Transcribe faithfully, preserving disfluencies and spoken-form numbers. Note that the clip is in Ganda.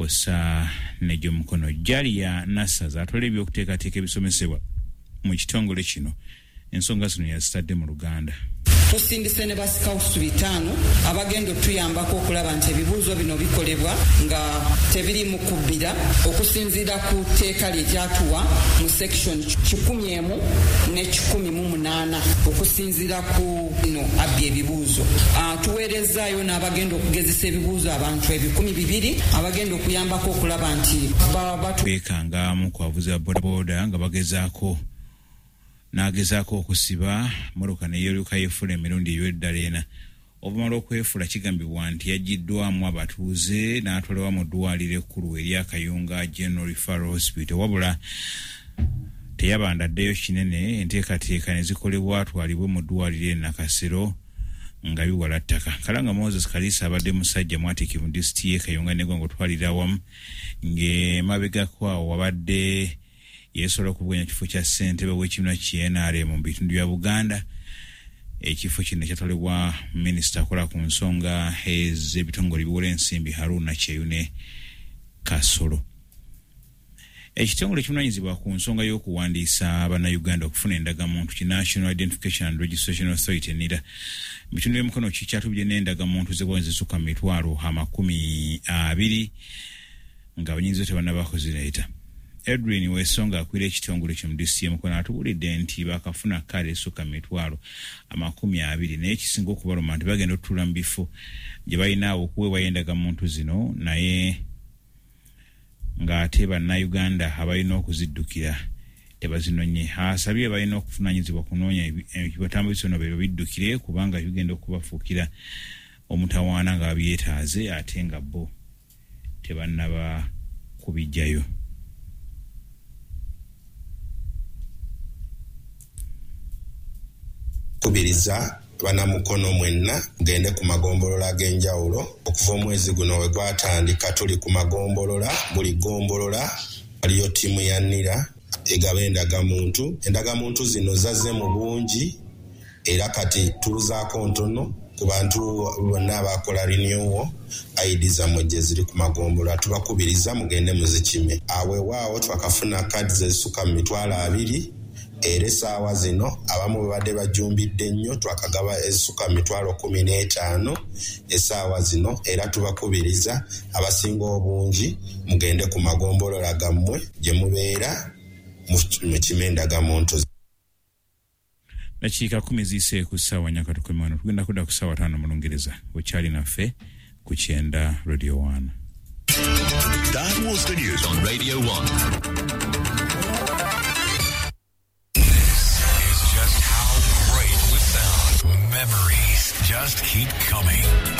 Kw'ossa n'egy'omukono. Jalia Nassaza atwala ebyokuteekateeka ebisomesebwa mu kitongole kino, ensonga zino yazitadde mu Luganda. Tusindise ne basikawusu bitaano abagenda otuyambako okulaba nti ebibuuzo bino bikolebwa nga tebiri mu kubbira okusinziira ku tteeka lye lyatuwa mu section kikumi emu ne kikumi mu munaana okusinziira ku bino abbi ebibuuzo. Tuweerezaayo n'abagenda okugezesa ebibuuzo abantu ebikumi bibiri abagenda okuyambako okulaba nti beekangamu ku bavuzi ba bodaboda nga bagezaako n'agezaako okusiba mmotoka ne yeeruka yeefula emirundi eby'eddala ena. Oluvanyuma lw'okwefula kigambibwa nti yaggyiddwamu abatuuze n'atwalibwa mu ddwaliro ekkulu erya Kayunga General Referral Hospital, wabula teyabandaddeyo kinene, enteekateeka ne zikolebwa atwalibwe mu ddwaliro e Nakasero nga biwala ttaka. Kalanga Moses Kalisa abadde musajja mwatiikirivu mu disitulikiti y'e Kayunga n'eggwanga otwalira awamu, ng'emabegako awo wabadde yeesobola okuvuganya kifo kya ssentebe w'ekibiina ki N R M mu bitundu bya Buganda. Ekifo kino kyatwalibwa minisita akola ku nsonga ez'ebitongole ebiwola ensimbi Haruna Kyeyune Kasolo. Ekitongole ekivunaanyizibwa ku nsonga y'okuwandiisa Bannayuganda okufuna endagamuntu ki National Identification and Registration Authority NIRA mu bitundu by'Emukono kikyatubye n'endagamuntu z'eggwanga ezisukka mu mitwalo amakumi abiri nga abanyinzi tebannaba kuzireeta. Edwin Wesonga akwira ekitongole kyo mu disitulikiti y'Emukono atubuulidde nti bakafuna kaadi esukka mu mitwalo amakumi abiri, naye ekisinga okubaluma nti bagenda okutuula mu bifo gye balina okuweebwayo endagamuntu zino, naye ng'ate Bannayuganda abalina okuziddukira tebazinonye. Asabye balina okuvunaanyizibwa kunoonya ebitambulizo bino babiddukire kubanga bigenda okubafuukira omutawaana nga babyetaaze ate nga bo tebannaba kubiggyayo. Kubiriza bannamukono mwenna mugende ku magombolola ag'enjawulo. Okuva omwezi guno we gwatandika tuli ku magombolola, buli gombolola waliyo ttiimu ya NIRA egaba endagamuntu. Endagamuntu zino zazze mu bungi era kati tuluzaako ntono ku bantu bonna abakola renewal I D zammwe gye ziri ku magombolola. Tubakubiriza mugende muzikime. Aweewaawo twakafuna kaadi ezisukka mu mitwalo abiri era essaawa zino abamu babadde bajumbidde nnyo, twakagaba ezisukka mu mitwalo kkumi n'etaano essaawa zino, era tubakubiriza abasinga obungi mugende ku magombolola gammwe gye mubeera mukime endagamuntu. Dakiika kkumi ziyise ku ssaawa nnya katukome wano, tugenda kudda ku ssaawa ttaano mu Lungereza. Okyali naffe ku Kyenda Radio one. That was the news on Radio one. Just how great we sound. Memories just keep coming.